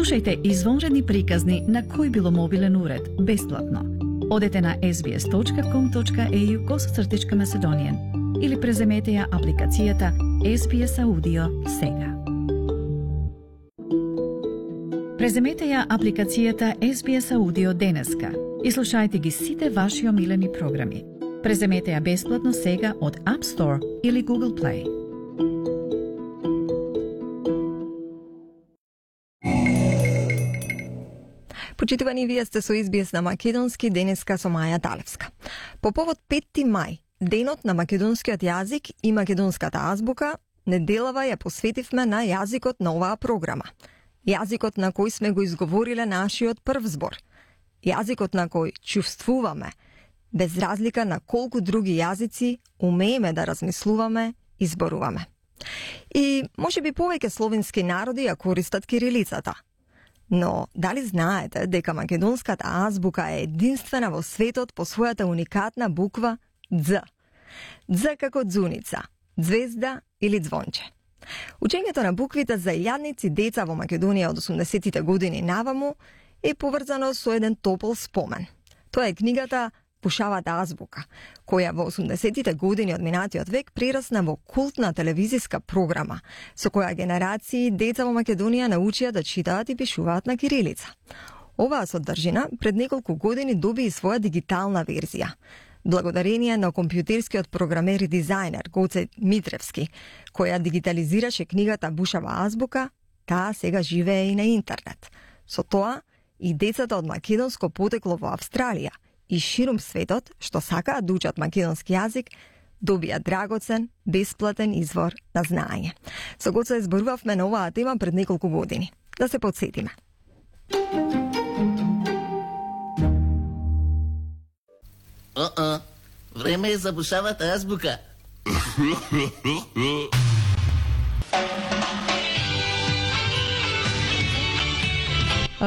Слушајте извонредни приказни на кој било мобилен уред, бесплатно. Одете на sbs.com.au/Macedonian или преземете ја апликацијата SBS Audio сега. Преземете ја апликацијата SBS Audio денеска и слушајте ги сите ваши омилени програми. Преземете ја бесплатно сега од App Store или Google Play. Почитувани, вие сте со SBS на македонски, денеска со Маја Талевска. По повод 5 мај, денот на македонскиот јазик и македонската азбука, неделава ја посветивме на јазикот на оваа програма. Јазикот на кој сме го изговориле нашиот прв збор. Јазикот на кој чувствуваме, без разлика на колку други јазици умееме да размислуваме и зборуваме. И можеби повеќе словенски народи ја користат кирилицата. Но дали знаете дека македонската азбука е единствена во светот по својата уникатна буква Дз? Дз како дзуница, звезда или звонче. Учењето на буквите за илјадници деца во Македонија од 80-тите години наваму е поврзано со еден топол спомен. Тоа е книгата Бушавата азбука, која во 80-тите години од минатиот век прерасна во култна телевизиска програма, со која генерации деца во Македонија научија да читаат и пишуваат на кирилица. Оваа содржина пред неколку години доби и своја дигитална верзија. Благодарение на компјутерскиот програмер и дизајнер Гоце Митревски, која дигитализираше книгата Бушава азбука, таа сега живее и на интернет. Со тоа, и децата од македонско потекло во Австралија и ширум светот, што сакаат да учат македонски јазик, добија драгоцен, бесплатен извор на знаење. Со Гоце зборувавме на оваа тема пред неколку години. Да се потсетиме. Време е за Бушавата азбука.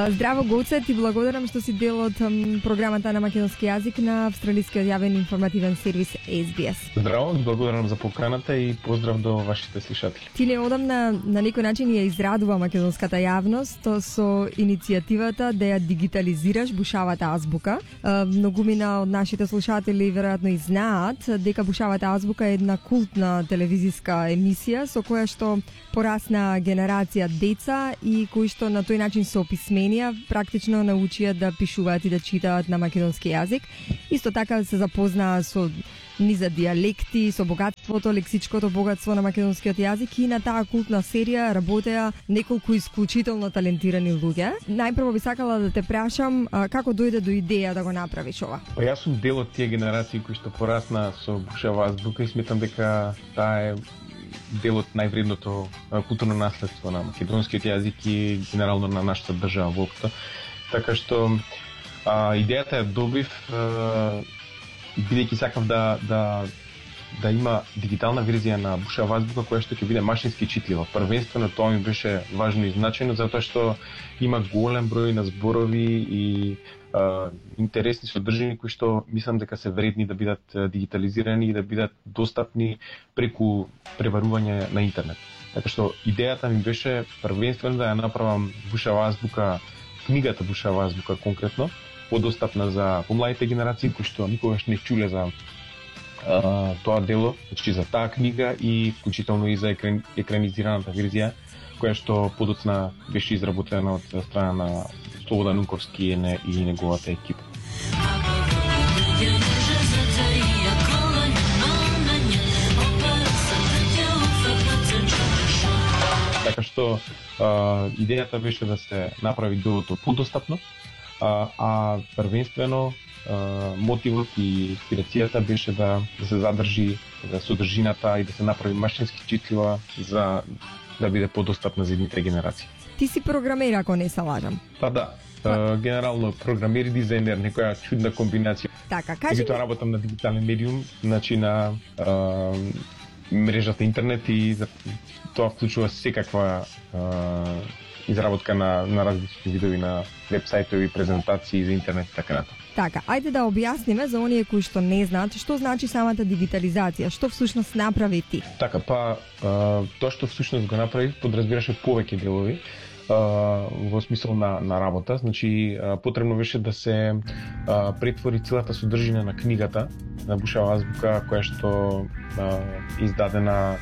Здраво, Гоце, ти благодарам што си дел од програмата на македонски јазик на австралискиот јавен информативен сервис SBS. Здраво, благодарам за поканата и поздрав до вашите слушатели. Ти неодамна на некој начин ја израдува македонската јавност со иницијативата да ја дигитализираш Бушавата азбука. Многумина од нашите слушатели веројатно и знаат дека Бушавата азбука е една култна телевизиска емисија со која што порасна генерација деца и кои што на тој начин се описменија практично научија да пишуваат и да читаат на македонски јазик. Исто така се запознаа со низа дијалекти, со богатството, лексичкото богатство на македонскиот јазик и на таа култна серија работеа неколку исклучително талентирани луѓе. Најпрво би сакала да те прашам како дојде до идеја да го направиш ова? Јас сум дел од тие генерации кои што порасна со Бушава азбука и сметам дека таа е дел од највредното културно наследство на македонскиот јазик и генерално на нашата држава воопшто. Така што идејата ја добив бидејќи сакав да има дигитална верзија на Бушава азбука која што ќе биде машински читлива. Првенствено тоа ми беше важно и значајно затоа што има голем број на зборови и интересни содржини кои што мислам дека се вредни да бидат дигитализирани и да бидат достапни преку преварување на интернет. Така што идејата ми беше првенствено да ја направам Бушава азбука, книгата Бушава азбука конкретно, подостапна за помладите генерации кои што никогаш не чуле за тоа дело, значи за таа книга и вклучително и за екранизираната верзија која што подоцна беше изработена од страна на Слободан Унковски и неговата екипа. Така што идејата беше да се направи делото подостапно, а првенствено мотивот и инспирацијата беше да се задржи содржината и да се направи машински читлива за да биде подостапна за едните генерации. Ти си програмер, ако не се лажам. Па да, генерално програмер и дизајнер, некоја чудна комбинација. Така, кажи ми... работам на дигитален медиум, значи на мрежата интернет и тоа вклучува секаква изработка на различни видови на веб-сајтови, презентации за интернет и така натаму. Така, ајде да објасниме за оние кои што не знаат што значи самата дигитализација, што всушност направи ти. Така, тоа што всушност го направи подразбираше повеќе делови. во смисол на работа. Значи, потребно беше да се претвори целата содржина на книгата на Бушава азбука, која што издадена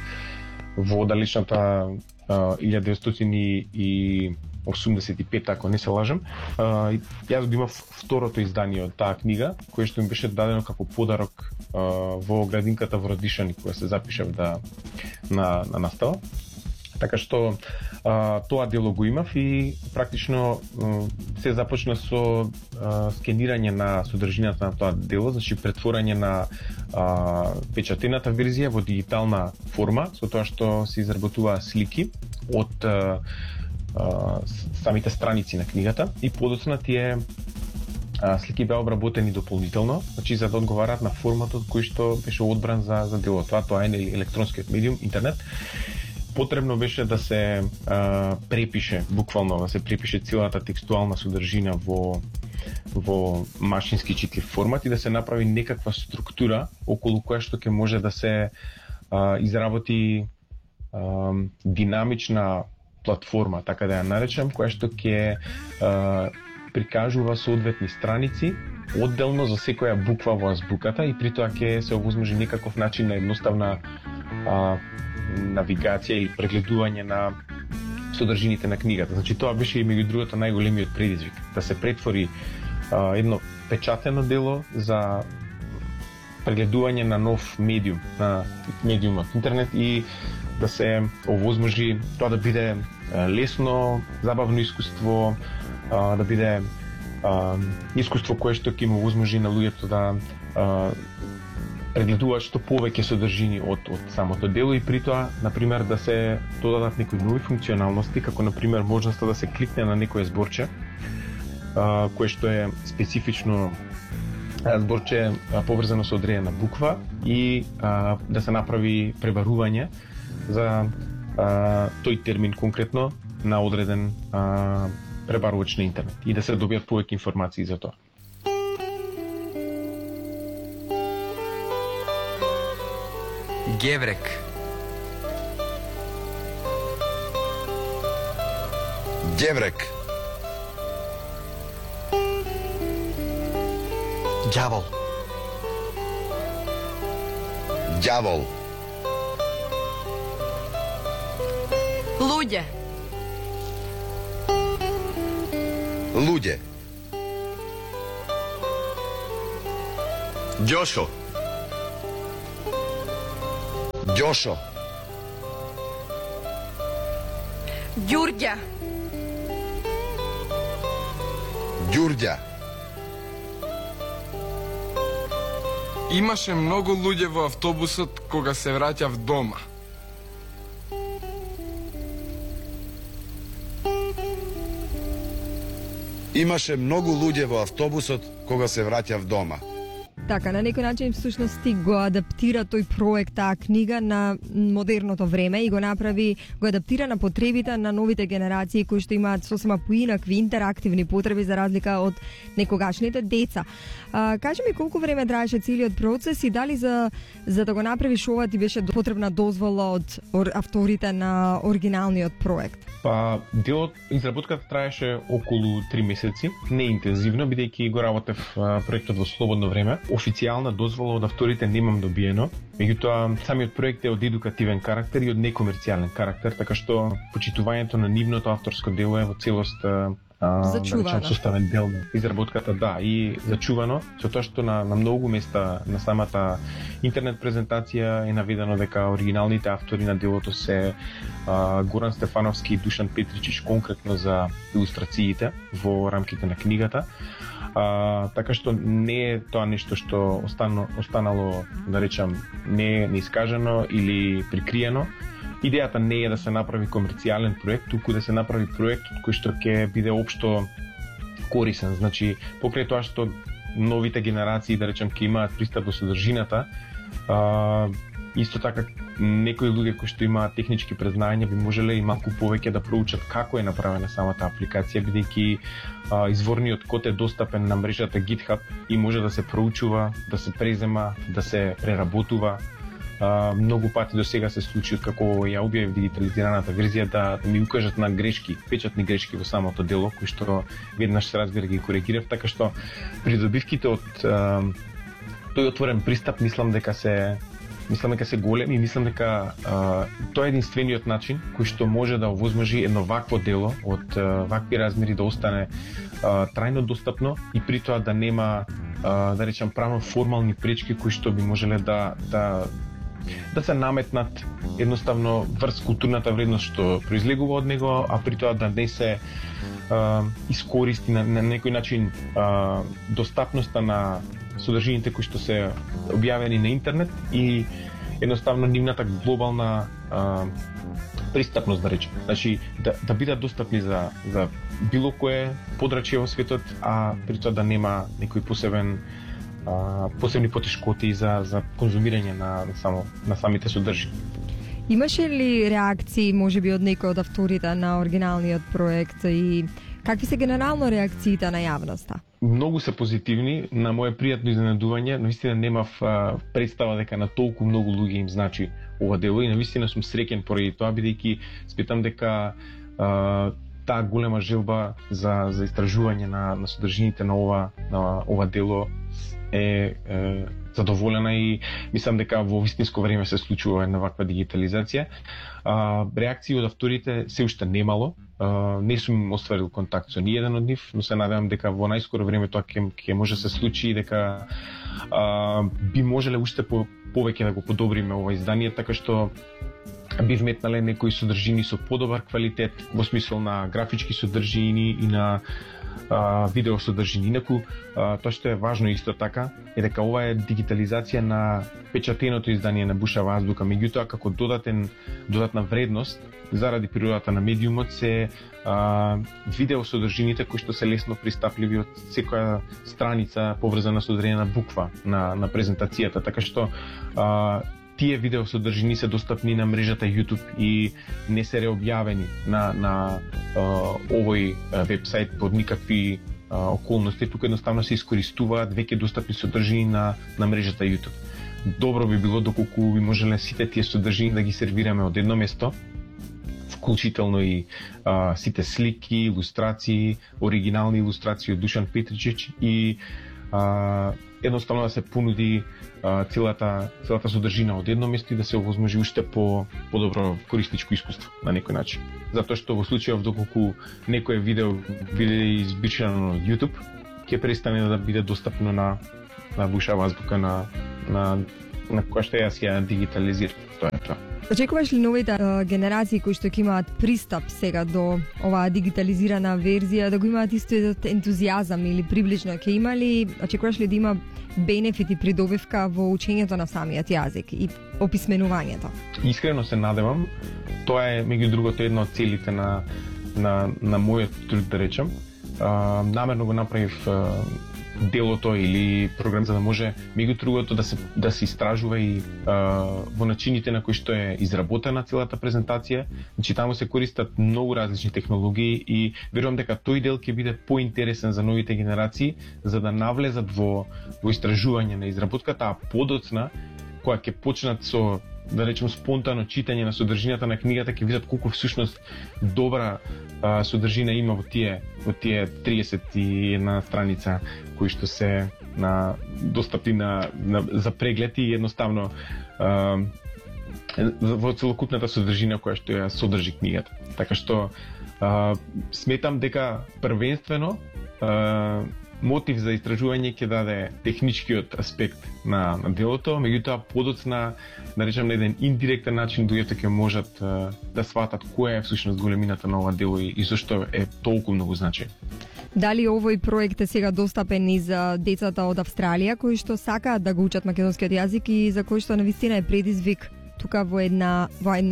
во далечната 1985, ако не се лажам. Јас го имав второто издание од таа книга, кое што ми беше дадено како подарок во градинката во Радишани, која се запишав на настава. Така што тоа дело го имав и практично се започна со скенирање на содржината на тоа дело, значи претворање на печатената верзија во дигитална форма, со тоа што се изработуваа слики од самите страници на книгата и подоцна тие слики беа обработени дополнително, значи за да одговараат на форматот кој што беше одбран за дело. Тоа е електронскиот медиум, интернет. Потребно беше да се препише, буквално да се препише целата текстуална содржина во машински читлив формат и да се направи некаква структура околу која што ќе може да се изработи динамична платформа, така да ја наречам, која што ќе прикажува соодветни страници одделно за секоја буква во азбуката и при тоа ќе се овозможи некаков начин на едноставна навигација и прегледување на содржините на книгата. Значи тоа беше и меѓу другото најголемиот предизвик, да се претвори едно печатено дело за прегледување на нов медиум, на медиумот интернет и да се овозможи тоа да биде лесно, забавно искуство, да биде искуство кое што ќе му овозможи на луѓето да прегледуваат што повеќе содржини од самото дело и при тоа, например, да се додадат некои нови функционалности, како например можноста да се кликне на некое зборче, кое што е специфично зборче поврзано со одредена буква и да се направи пребарување за тој термин конкретно на одреден пребарувач на интернет и да се добијат повеќе информации за тоа. Геврек. Геврек. Ѓавол. Ѓавол. Луѓе. Луѓе. Ѓошо. Ѓошо. Ѓурѓа. Ѓурѓа. Имаше многу луѓе во автобусот кога се враќав дома. Имаше многу луѓе во автобусот кога се враќав дома. Така, на некој начин всушност ти го адаптира тој проект, таа книга на модерното време и го адаптира на потребите на новите генерации кои што имаат сосема поинакви интерактивни потреби за разлика од некогашните деца. Кажи ми колку време траеше целиот процес и дали за да го направиш ова ти беше потребна дозвола од авторите на оригиналниот проект? Па, делот, изработката траеше околу 3 месеци, не интензивно, бидејќи го работев проектот во слободно време. Официјална дозвола од авторите немам добиено, меѓутоа самиот проект е од едукативен карактер и од некомерцијален карактер, така што почитувањето на нивното авторско дело е во целост зачувано. Составен дел на изработката, да, и зачувано, со тоа што на многу места на самата интернет презентација е наведено дека оригиналните автори на делото се Горан Стефановски и Душан Петричич конкретно за илустрациите во рамките на книгата. Така што не е тоа нешто што останало, да речам, не искажено или прикриено. Идејата не е да се направи комерцијален проект, туку да се направи проект кој што ќе биде општо корисен. Значи, покрај тоа што новите генерации, да речем, ќе имаат пристап до содржината, исто така некои луѓе кои што имаат технички презнања би можеле и малку повеќе да проучат како е направена самата апликација, бидејќи изворниот код е достапен на мрежата GitHub и може да се проучува, да се презема, да се преработува Многу пати до сега се случи како ја објавив дигитализираната верзија да ми укажат на грешки, печатни грешки во самото дело, кои што веднаш се разбира ги коригирав, така што придобивките од тој отворен пристап мислам дека се големи и мислам дека тоа е единствениот начин кој што може да овозможи едно вакво дело од вакви размери да остане трајно достапно и при тоа да нема да речам правно формални пречки кои што би можеле да се наметнат едноставно врз културната вредност што произлегува од него, а при тоа да не се искористи на некој начин достапноста на содржините кои што се објавени на интернет и едноставно нивната глобална пристапност, да речем. Значи, да бидат достапни за било кое подрачје во светот, а при тоа да нема некои посебни потешкоти за конзумирање на самите содржини. Имаше ли реакции, можеби од некој од авторите на оригиналниот проект и какви се генерално реакциите на јавноста? Многу се позитивни, на моje пријатно изненадување, навистина немав представа дека на толку многу луѓе им значи ова дело и навистина сум среќен поради тоа, бидејќи сметам дека таа голема желба за истражување на содржините на ова дело е задоволена и мислам дека во вистинско време се случува една ваква дигитализација. Реакции од авторите се уште немало. Не сум остварил контакт со ниеден од нив, но се надевам дека во најскоро време тоа ќе може се случи и дека би можеле уште повеќе да го подобриме ова издание, така што би вметнале некои содржини со подобар квалитет во смисол на графички содржини и на видео содржини. Инаку, тоа што е важно исто така е дека ова е дигитализација на печатеното издание на Бушава азбука, меѓутоа како додатна вредност заради природата на медиумот се видео содржините кои што се лесно пристапливи од секоја страница поврзана со одредена буква на презентацијата, така што тие видео содржини се достапни на мрежата YouTube и не се реобјавени на овој вебсайт под никакви околности, тука едноставно се искористуваат веќе достапни содржини на мрежата YouTube. Добро би било доколку би можеле сите тие содржини да ги сервираме од едно место, вклучително и сите слики, илустрации, оригинални илустрации од Душан Петричич и едноставно да се понуди целата содржина од едно место и да се овозможи уште подобро корисничко искуство на некој начин. Затоа што во случајов доколку некое видео биде избришано од YouTube, ќе престане да биде достапно на Бушава азбука на која што јас ја дигитализирам. Тоа е тоа. Очекуваш ли новите генерации кои што ќе имаат пристап сега до оваа дигитализирана верзија да го имаат исто ентузијазам или приближно ќе има ли, очекуваш ли да има бенефити придобивка во учењето на самиот јазик и описменувањето? Искрено се надевам. Тоа е меѓу другото една од целите на мојот труд, да речам. Намерно го направив делото или програм за да може меѓу другото да се истражува и во начините на кои што е изработена целата презентација. Значи таму се користат многу различни технологии и верувам дека тој дел ќе биде поинтересен за новите генерации за да навлезат во истражување на изработката, а подоцна кога ќе почнат со, да речем, спонтано читање на содржината на книгата, ќе видат колку всушност добра содржина има во тие 31 страница кои што се достапни за преглед и едноставно во целокупната содржина која што ја содржи книгата. Така што сметам дека првенствено мотив за истражување ќе даде техничкиот аспект на делото, меѓутоа подоцна, да речем, на еден индиректен начин луѓето ќе можат да сватат која е всушност големината на ова дело и зашто е толку многу значајно. Дали овој проект е сега достапен и за децата од Австралија кои што сакаат да го учат македонскиот јазик и за кои што навистина е предизвик тука во едно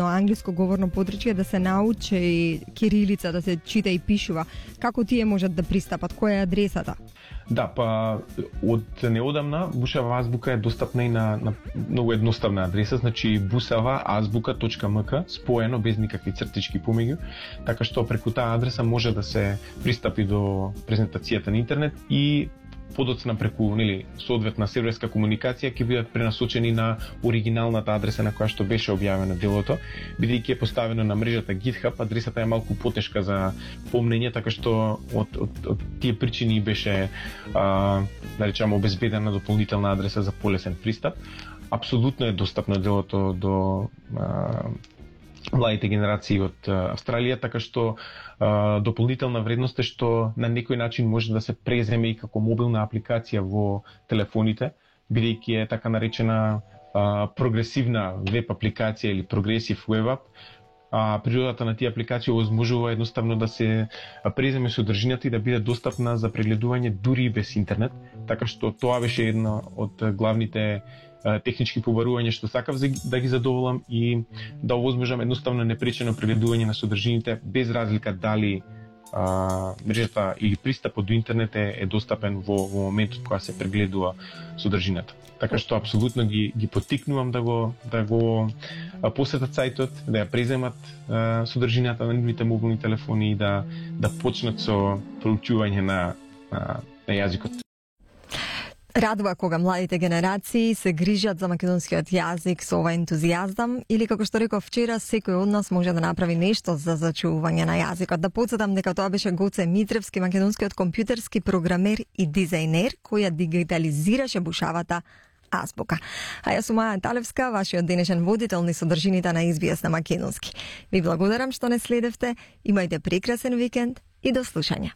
англиско говорно подрачје да се научи кирилица, да се чита и пишува? Како тие можат да пристапат? Која е адресата? Да, па од неодамна Бушава азбука е достапна и на многу едноставна адреса, значи busavaazbuka.mk, споено без никакви цртички помеѓу, така што преку таа адреса може да се пристапи до презентацијата на интернет и подоцна преку соодветна серверска комуникација ќе бидат пренасочени на оригиналната адреса на која што беше објавено делото, бидејќи е поставено на мрежата GitHub, адресата е малку потешка за помнење, така што од тие причини беше да речеме обезбедена дополнителна адреса за полесен пристап. Апсолутно е достапно делото до младите генерации од Австралија, така што дополнителна вредност е што на некој начин може да се преземе и како мобилна апликација во телефоните, бидејќи е така наречена прогресивна веб апликација или прогресив веб ап. Природата на тие апликации овозможува едноставно да се преземе содржината и да биде достапна за прегледување дури и без интернет, така што тоа беше една од главните технички побарувања што сакав да ги задоволам и да овозможам едноставно непречено прегледување на содржините без разлика дали мрежата или пристапот до интернет е достапен во моментот кога се прегледува содржината. Така што апсолутно ги поттикнувам да го посетат сајтот, да ја преземат содржината на нивните мобилни телефони и да почнат со проучување на јазикот. Радува кога младите генерации се грижат за македонскиот јазик со ова ентузијазам или како што реков вчера, секој од нас може да направи нешто за зачувување на јазикот. Да потсетам дека тоа беше Гоце Митревски, македонскиот компјутерски програмер и дизајнер кој ја дигитализираше бушавата азбука. А јас сум Маја Талевска, вашиот денешен водител низ содржините на SBS на македонски. Ви благодарам што не следевте, имајте прекрасен викенд и до слушање.